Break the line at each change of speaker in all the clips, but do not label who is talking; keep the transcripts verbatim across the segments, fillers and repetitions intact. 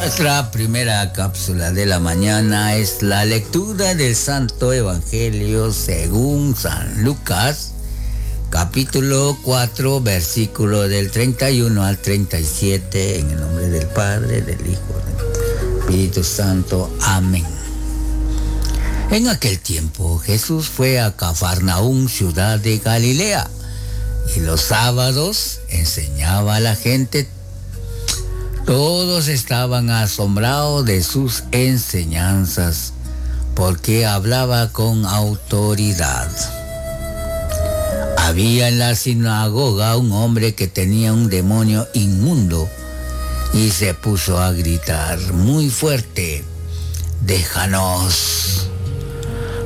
Nuestra primera cápsula de la mañana es la lectura del Santo Evangelio según San Lucas, capítulo cuatro, versículo del treinta y uno al treinta y siete, en el nombre del Padre, del Hijo, del Espíritu Santo. Amén. En aquel tiempo Jesús fue a Cafarnaún, ciudad de Galilea, y los sábados enseñaba a la gente. Todos estaban asombrados de sus enseñanzas, porque hablaba con autoridad. Había en la sinagoga un hombre que tenía un demonio inmundo y se puso a gritar muy fuerte: «Déjanos.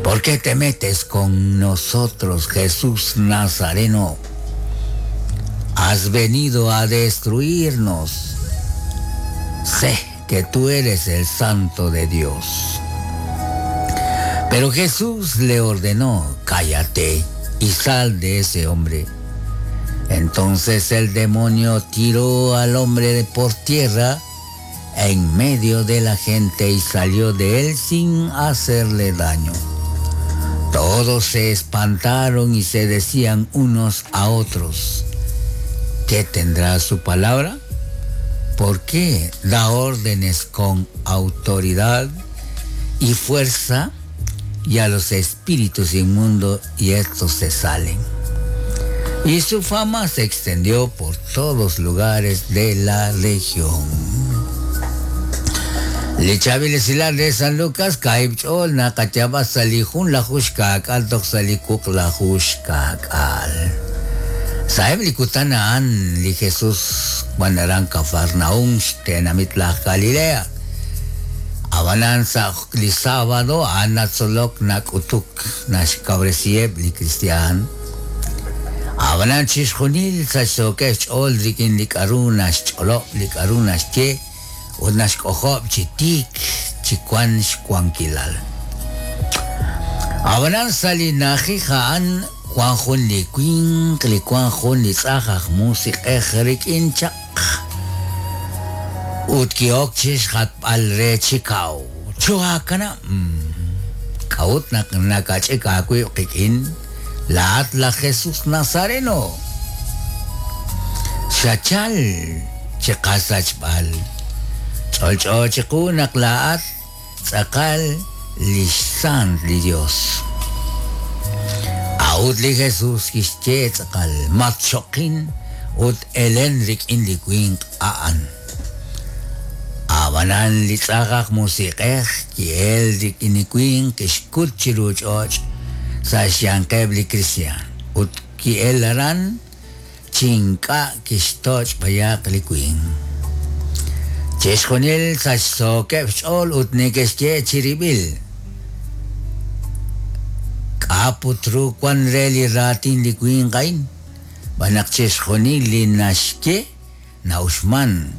¿Por qué te metes con nosotros, Jesús Nazareno? Has venido a destruirnos. Sé que tú eres el Santo de Dios». Pero Jesús le ordenó: «Cállate y sal de ese hombre». Entonces el demonio tiró al hombre por tierra en medio de la gente y salió de él sin hacerle daño. Todos se espantaron y se decían unos a otros: ¿qué tendrá su palabra? ¿Por qué da órdenes con autoridad y fuerza y a los espíritus inmundos, y estos se salen? Y su fama se extendió por todos lugares de la región. Lichabil de San Lucas, Kaibchol, Nakachaba Salijun, la Hushkakal, Toxalikuk, la Hushkakal. Saeb likutanaan li Jesús wanaran Cafarnaún, tenamit la Galilea. Abanan sa li sábado, anatsolok nakutuk, nashkabresieb li cristian. Abanan chishjunil sa shokech ol rikin likarun nascholop likarun naschye, ut nashkojob chitik chikwan shkwankilal. Abanan salinajijan Juan Jun li Quink, li Juan Jun li Tzajaj, Musik Ejrik Inchak. Utkiok Chish Hat al Re Chikau. Chuakana. Kaut nak nakachika kuikin. La Atla Jesús Nazareno. Xachal Chikasachbal. Cholcho Chikunak la At Tzakal Lishsan li Dios. Aut li Jesús kixche tzakal matchokin ut elenrik in li kuink aan. Abanan li tzakak musikej ki elrik in li kuink kixkut chiruch och sa xyankeb li cristian. Ut ki elaran chinka kixtoch payak li kuink. Chexjonil sa xsokeb xol ut nekexche chiribil. Aputru kwan reli ratin li kuingain, banak chexjonil li naxke naushman,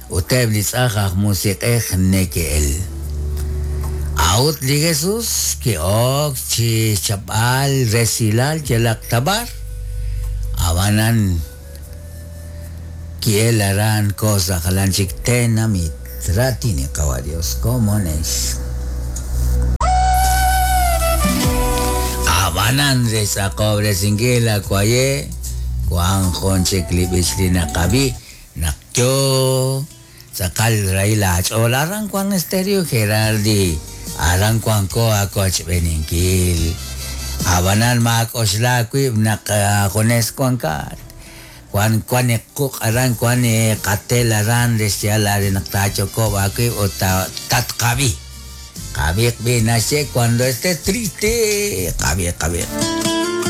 uteb li tzajaj musikej nekeel. Aut li Jesús ki ok chi chapal resilal yelaktabar, abanan kiel aran cosa jalanchik tenamit ratini kawa Dios como nes. Abanan reza cobre singila kwaye Juan Jonche klibisli nakabi nakyo sakal raila chola aran Juan Estéreo Geraldi aran Juan koa koch beninkil abanan mak osla kwib nak jones Juan kat Juan Juan kuk aran Juan katel aran resiala naktacho ko akwib o tatkabi. Kabik binasye cuando esté triste. Kabik, kabik.